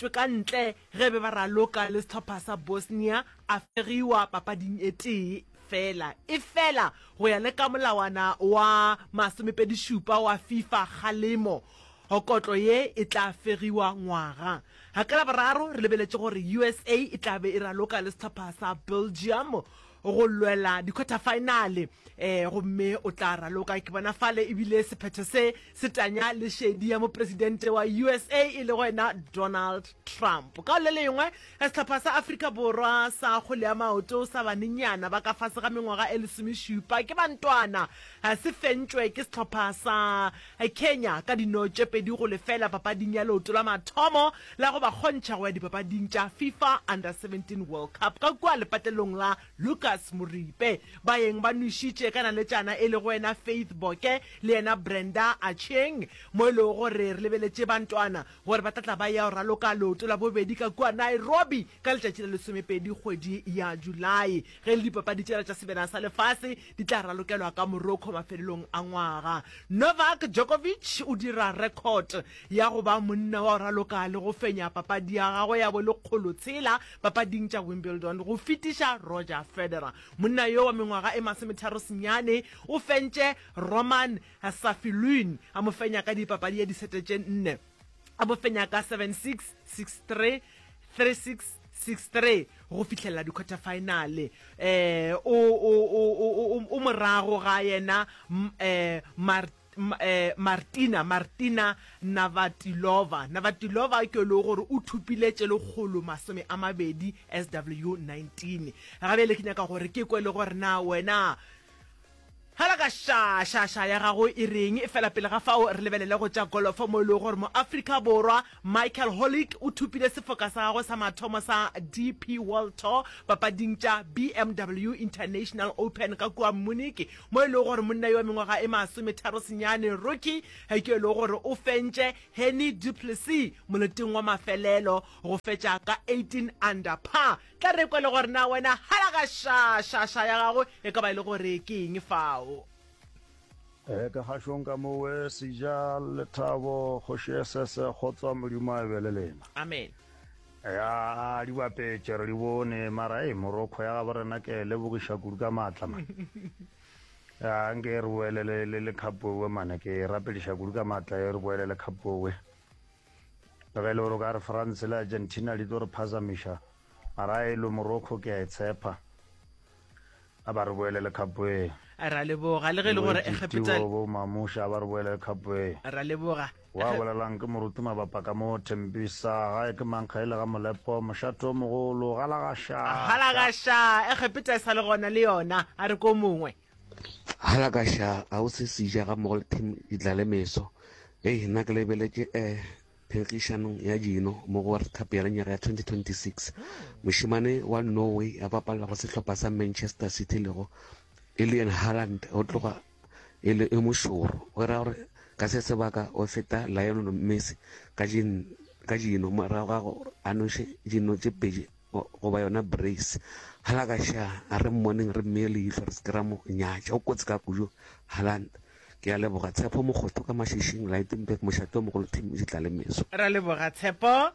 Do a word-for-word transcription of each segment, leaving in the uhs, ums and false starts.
tšwe ka ntle ge be ba raloka le sehlopha sa Bosnia, a fegiwa papading e tee feela. Efela go ya le ka molawana wa masomepedi-šupa wa FIFA kgalemo, kotlo ye e tla fegiwa ngwaga. Ka Laboraro re lebeletše gore U S A e tla be e raloka le sehlopha sa Belgium go lwela di-quarter-final, um gomme o tla raloka ke bona fale. Ebile sephetho se se tanya le šedi ya mopresidente wa U S A e le wena Donald Trump. Ka le lengwe, sehlopha sa Afrika Borwa sa kgwele ya maoto sa banenyana ba ka fase ga mengwaga e lesomešupa ke bantwana se fentšwe ke sehlopha sa Kenya ka dino tše pedi go lefela papading ya leoto la mathomo la go ba kgontšha go ya dipapading tša FIFA Under seventeen World Cup ka kua lepatlelong la Lucas Moripe. Baeng ba nwešitše ka naletšana e lego wena Faith Boke le yena Brenda Acheng, mo e lego gore re lebeletše bantwana gore ba tlatla ba ya go raloka leoto la bobedi ka kua Nairobi ka letšatši la lesomepedi kgwedi ya Julae, ge le dipapadi tšela tša Sebjana sa Lefase di tla ralokelwa ka Morocco mafelelong a ngwaga. Novak Djokovic o dira record ya go ba monna wa go raloka le go fenya papadi ya gagwe ya bolekgolo tshela papading tša Wimbledon go fetiša Roger Federer. Monna yo wa mengwaga e masometharo senyane o fentše Roman Safiullin, a mo fenya ka dipapadi ya disete tše nne, a mo fenya ka seven six, six three, three six, six three go fihlelela di-quarter final. eh o o o o morago ga yena eh eh Martina Martina Navratilova. Navratilova ke le gore o thupile tše lekgolo masome a mabedi S W nineteen. Gabele ke nyaka gore ke kwe le gore na wena hala ka ša ša ša ya gago e reng. E fela pele ga fao re lebelele go tša golofo, mo e lego gore mo Afrika Borwa Michael Holik o thupile sefoka sa gagwe sa mathomo sa D P World Tour papading tša B M W International Open ka kua Munich, mo e lego gore monna yo wa mengwaga e masometharo senyane rookie ke e lego gore o fentše Hennie du Plessis moleteng wa mafelelo go fetša ka eighteen under par. Tla re kwe le gore na wena hala ka ša ša ša ya gago e ka ba e le gore ke eng fao. E ka gašong ka mowe Seja Lethabo Kgoši S S kgotsa Modimo a be le lena. Amen. Ya di bapetše re di bone, mara e Morocco ya gabo rena ke e lebogiša kudu ka maatla man. Ya nke re boele le le le cup owe mane, ke e rapediša kudu ka maatla e re boele le cup owe. Le ge e le gore o ka re France le Argentina di tlo re phazamiša, mara e lo Morocco ke a e tshepa. A ba re boele le cup e. Ra leboga. Le ge e le gore Egepeta bo Mamusha, a ba re boele le cup e. Ra leboga. Wa bolelang ke moruti mabapa ka mo Thembisa gae ke mankga ile ga Molepo mošate o mogolo galagaša. Galagaša. Egepeta e sa le gona le yona, a re ko mongwe. Halakaša ga o se seja ga mmogo le team Ditlalemeso. Ei, nna ke lebeletše um phenkgišanong ya dino mo go World Cup ya lenyaga ya twenty twenty-six. Mošemane wa Norway a bapalla go sehlopha sa Manchester City lego Erling Haaland o tloga e le e mošoro. Go ra gore ka se sebaka o feta Lionel Messi ka ka dino morago ga gore a noše dino tše pedi goba yona brace. Halakaša, a re mmoneng, re mmeye leihlo, re se ke ra mo nyatša, o kotsi ka kudu Haaland. Ke a leboga. Tshepo Mokgotho ka Mašišing, Lydenburg, mošate o mogolo, team Ditlalemeso. Ra leboga, Tshepo.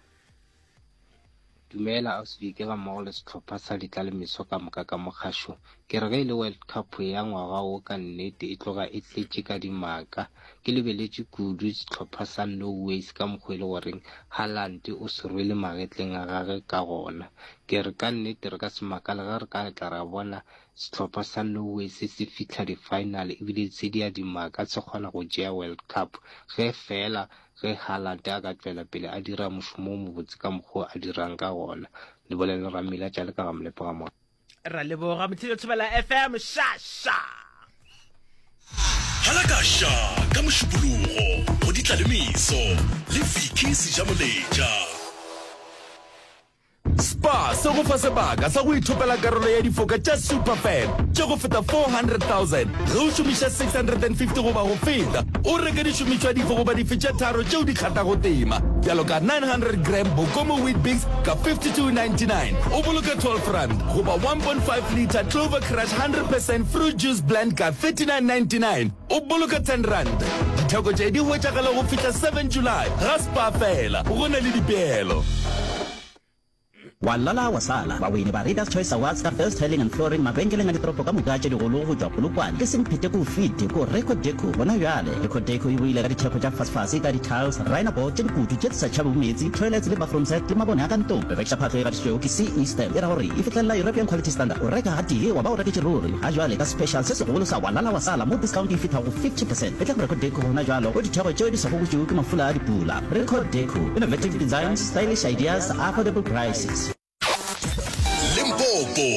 Dumela Ausvike ga mmogo le sehlopha sa Ditlalemeso ka moka ka mokgašong. Ke re ge e le World Cup ya ngwaga wo ka nnete e tloga e tletše ka dimaka. Ke lebeletše kudu sehlopha sa Norway ka mokgwa e le goreng Haaland o se rwele magetleng a gage ka gona. Ke re ka nnete re ka se makale ge re ka tla ra bona sehlopha sa Norway se se fihla di-final ebile se di a dimaka se kgona go tšea World Cup ge fela ge Haaland a ka tšwela pele a dira mošomo o mobotse ka mokgwa a dirang ka gona. Le bolele Ramila tša le ka ga Molepo ga mo. Ra leboga mothile Thobela F M ša ša. Halakaša ka Mošupologo go Ditlalemeso le Vicky Sejamoletša. Spar se go fa sebaka sa go ithopela karolo ya difoka tša Superfan tše go feta four hundred thousand ge o šomiša six hundred and fifty goba go feta o reke dišomišwa dife goba dife tše tharo tšeo di kgathago tema, bjalo ka nine hundred gram Bokomo Weet-Bix ka fifty-two ninety-nine, o boloka twelve rand, goba one point five litre Clover Crush one hundred percent fruit juice blend ka thirty-nine ninety-nine, o boloka ten rand. Ditheko Ditheko tše di hwetšagala go fihla seven July ga Spar fela, go na le dipeelo. Wa lala wa sala, bawini ba Readers Choice Awards ka Best Tiling and Flooring mabenkeleng a ditoropo ka moka tše digolo go tšwa Polokwane ke semphete ko fete ko Record Deco gona bjale. Record Deco e boile ka ditheko tša fasefase ka di-tiles, rhino board tše dikutu tše di sa tšhabego meetse, toilets le bathroom set le mabone a ka ntlong. Re rekiša phahlo e gatišitšwego ke C E Stamp e ra gore e fihlelela European Quality Standard. O reka gatee wa ba o reketše ruri. Ga jwale ka special se segolo sa wa lala wa sala mo discount e fihla go fifty percent. Etla go Record Deco gona jwalo go ditheko tšeo di sa gobotšwego ke mafula a dipula. Record Deco, innovative designs, stylish ideas, affordable prices. Limpopo.